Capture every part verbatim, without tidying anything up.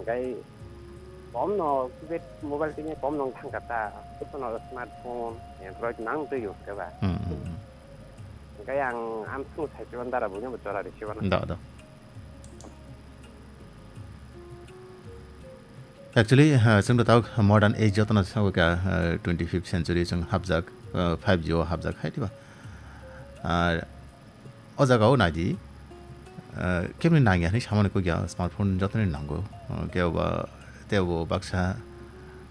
Tei komno keypad mobile tini komno wng thangkha ta, jotono smartphone, Android nang twi use kha ba. Hmm, hmm, hmm. Hingke ang amsung sai se ban dara buino bo chora risi bana. Da, da. Actually, uh, chwng to tabuk modern age jotono sawi kha, uh, twenty-fifth century chwng hapjak, uh, five G o hapjak hai diba. Uh, O jaga o nai di, ah, keboni nangya hinwi samani kok ya, smartphone jotoni nango. Ah, kebo ba, tebo baksa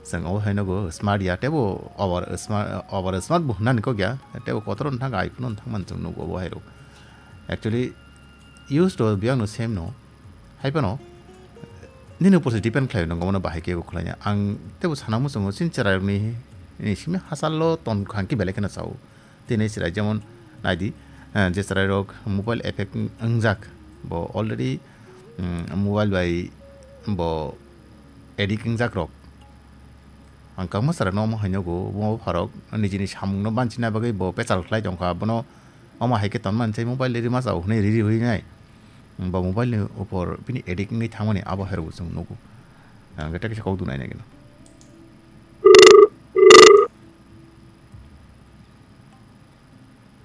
chwng obo hai nogo smart ya, tebo over smart, over smart bo hwnani kok ya, tebo kotor wng thang iPhone wng thang man chwng nugo obo hai rok. Actually, use to biyang no same no, hai phano nini upor se depend khlai nang omo no bahai kebo khlai ya. Ang tebo sana muchungo chini chwrai rokni, ni simi hachal lo ton khang ki belai kheno chao. Tini chwrai jemon nai di, eh, je chwrai rok mobile effect wngjak, bo already, mm, mobile bai bo addict wngjak rok. Ang kwbangma chwrai no omo hai nogo, bo pharok nijini samung no banchina bagwi bo pechal khlai tongkha, bono omo hai khe tonma hinwi mobile riri ma chao hwnwi riri hui nai. Bo mobile ni upor bini addict wngwi thangmani abo hai rok bo chwng nugo. Ang khe tei kaisa kok dunai nai gino.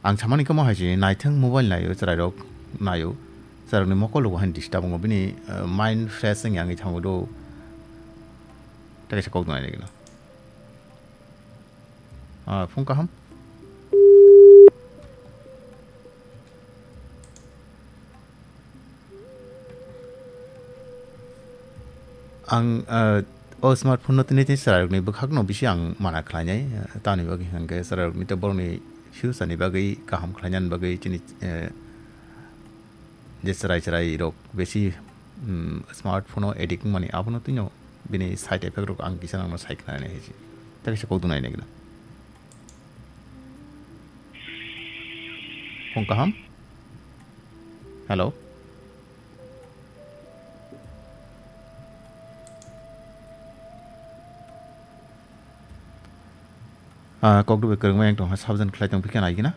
Ang samani khe mo hai se naithang mobile naio, chwrairok naio, chwrairokni mokol rok hai disturb wngo, bini, eh, mind fresh wngya wngwi thango do. Tei kaisa kok dunai nai gino. Ah, phung kaham. Ang, ah, o smartphone no tini tini chwrairokni bwkhakno bisi ang mana khlainai, ah, tamni bagwi hwnkhe chwrairokni tei borokni future ni bagwi kaham khlainani bagwi chini, eh, je chwrai chwrairok bisi, mm, smartphone o addict wngmani abono twino bini side effect rok ang kisa nangno sai khlainai hai se. Tei kaisa kok dunai nai gana. Phung kaham. Hello. Ah, kok dubui kwrwngma yang tongkha, subject khlai tong phikha nai gina.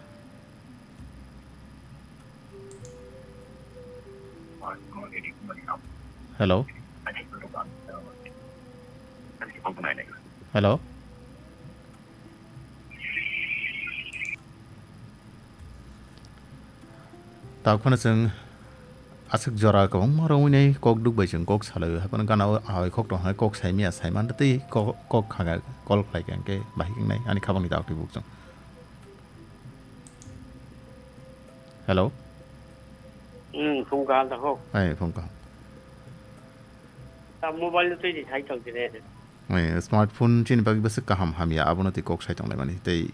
Hello. Hello. Tabuk phano chwng aswk jora kwbangma romwi nai kok duk bai chwng kok salai o, hai phano gana o ahoi khok tong hai kok sai mia sai man tei kok, kok kha kha call khlai kha hwnkhe bahai wngnai ani khabangni tabuk twi buk chwng. Hello. Hmm, phung kaham ta kho. Ai, phung kaham. Ta mobile no twi di sai tong tine. Ai, smartphone chini bagwi bwswk kaham hamya abono twi kok sai tong lai mani tei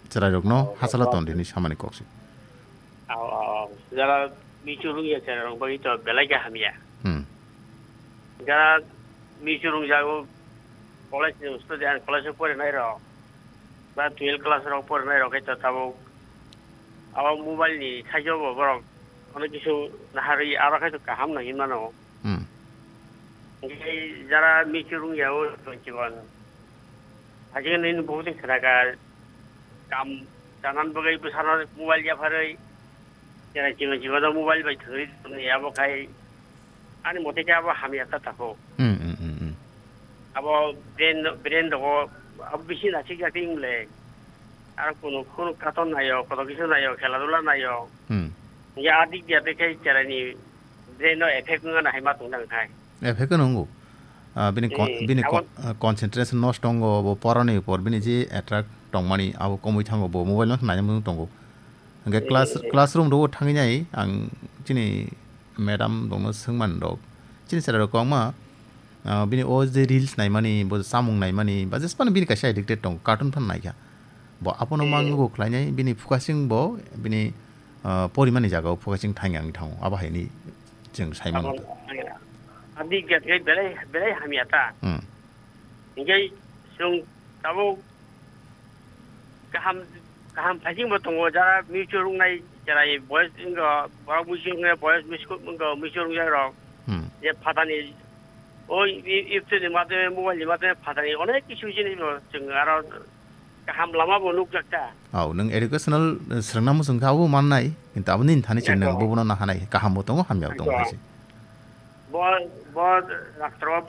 chwrairokno hachalo ton rini samani kok se. Aw, aw, aw. Jara michu rungya chwrairok bagwi to belai khe hamya. Hmm. Jara michu rungjago college ni student, college o porinai rok, ba twelve class rok porinai rok khe to tabuk abo mobile ni thaijo bo borok onek kisu naharwi aro khe to kaham no hinmano. Hmm. Hingke jara michu rungya o twenty one. Hajing nini buhutni khwnaga kam chanan bagwi bwsano mobile yapharwi chwrai chwngno chibano mobile bai thwngwi tongni abo khai ani mote khe abo hamya ta tako. Hmm, hmm, hmm, hmm. Abo brain, brain rogo abo bisi nasik jak ingle. Aro kunu, kunu cartoon nayo, koto kisa nayo, khela dula nayo. Hmm. Ya adik dia de khai chwraini brain no effect wngna hai ma tong dang khai. Effect no wngo. Ah, bini con-, hmm, bini abo con-, ah, concentration nosto wngo, bo porani upor bini je attract tongmani abo komwi thango, bo mobile no naina mung tongo. Hingke class, hmm, classroom rogo thangwi nai ang chini madam rokno swngmani rok. Chini chwrai rok kwbangma, ah, bini o je reels naimani, bo samung naimani, ba jesphano bini kaisa addicted tongo, cartoon phano naikha. Bo abono hmm, mang nugo khlainai, bini focusing bo, bini, ah, porimani jagao focusing thangya wngwi thango, abo haini chwng sai mano. Abo, ah, bini khe belai, belai hamya ta. Hmm. Hingke chwng tabuk kaham, kaham phaisingbo tongo, jara muichung rwngnai, jara boyes wngkha, borok muichung rwngnai, boyes miskul wngkha, muichung rwngjak rok. Hmm. Je phatani, o i-, i-, YouTube ni madhyome, mobile ni madhyome phatani onek kisu jinis bo chwng aro kaham lama bo nukjak ta. Au, nwng educational, eh, swrwngna muchung khe abo mannai, kintu abo nini thani chwng nwng bobono nahanai, kaham bo tongo, hamya bo tongo hai se. Bo, bo rastro